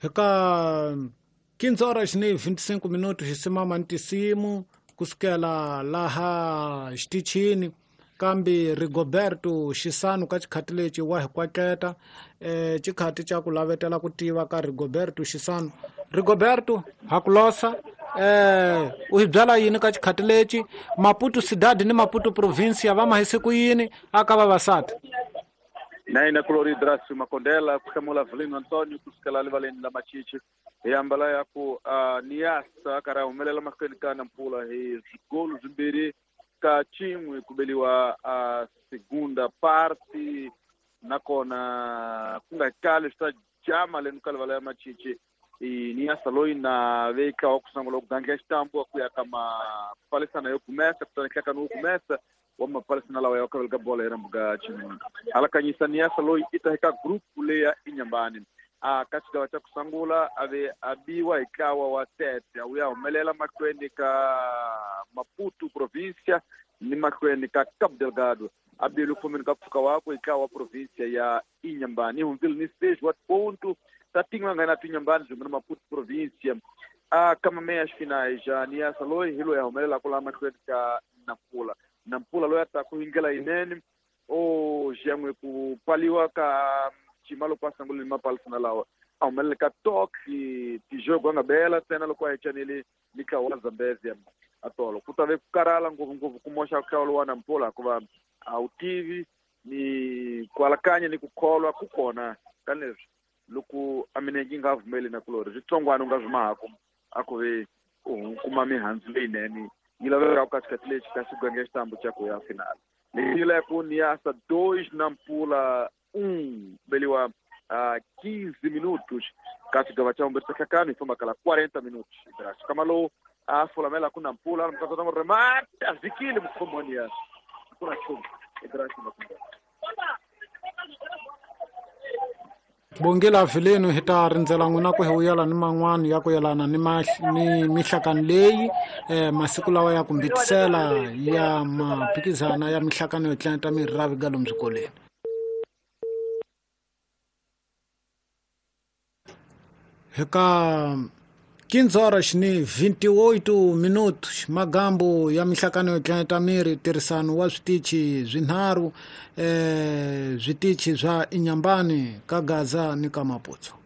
Eka 15 horas ni 25 minutos hi simama ni tinsimu kusukela laha xitichini kambe Rigoberto Xisano ka xikhati lexi wa hi kwatleta xikhati xa ku lavetela ku tiva ka Rigoberto Xisano. Rigoberto ha ku losa u hi byala yini ka xikhati lexi Maputo Cidade ni Maputo Provincia va mahise ku yini aka vavasati? Na yena kulori Drasio Makondela ku hlamula Velino Antonio kusukela rivaleni la Machichi hi ambala ya ku Niassa a karhi a humelela mahlweni ka Nampula hi swigolu swimbirhi ka xin'we ku beliwa segunda parte nakona ku nga kali swi ta jama leni ka rivala ya Machichi Niassa loyi na veka wa ku sungula ku gandla xitambu ku ya ka mapalisana yo kumesa kutani nhlekani wo kumesa wa mapalisana lawa ya kavela ka bola hi rambu ka xinuna alakanyisa Niassa loyi i ta eka group leya Inhambane a ka xigava xa ku sungula a ve a biwa hi ntlawa wa Tete a wu ya humelela mahlweni ka Maputo Provincia ni mahlweni ka Cabo Delgado a bile ku fambeni ka mpfhuka wakwe hi ntlawa wa provincia ya Inhambane yi hundzile ni 6 wa ponto ta tin'we nga na Inhambane swin'we na Maputo Provincia a ka meias finais ja Niassa loyi hi loyi a humelelaka laha mahlweni ka Nampula. Nampula loyi a taku hi ndlela yinene o xiyan'we ku pfaliwa ka xima loko a sungule ni mapalisana lawa a humelele ka tok tijogo a nga bela ntsena loko a hecanile ni ntlawa wa Zambezia a tolo ku ta ve ku karhala ngopfungopfu ku moxa nhlawulo wa Nampula hikuva a wu tivi ni ku alakanya ni ku kholwa ku kona ka leswi loko a minenge yi nga pfumeli na kulori switsongwana u nga swi mahaku a ku ve u kuma mihandzu leyinene yi laveka ka xikhathi lexi ka xigenge xitambu xa ku ya final leyi la ku Niassa 2 Nampula 1 beliwa 15 minutos ka xigava xa vumbirhi xa nhlakano hi famba kala 40 minutos Graça Kamalo a fulamela ku Nampula mukatata remata vikile mukhomoni ya kuna chumu Graça Makunda. Bongela Vileno hi ta rindzela n'wina ku hi vuyela ni man'wana ya ku yelana ni ni mihlakano leyi masiku lawa ya ku mbitisela ya maphikizana ya mihlakano yo tlanta miravi ga lomu swikolweni. Eka 15 horas ni 28 minutos magambo ya mihlakano yo tlanta miri tirhisano wa switichi swinharhu switichi swa Inhambane ka Gaza ni ka Maputo.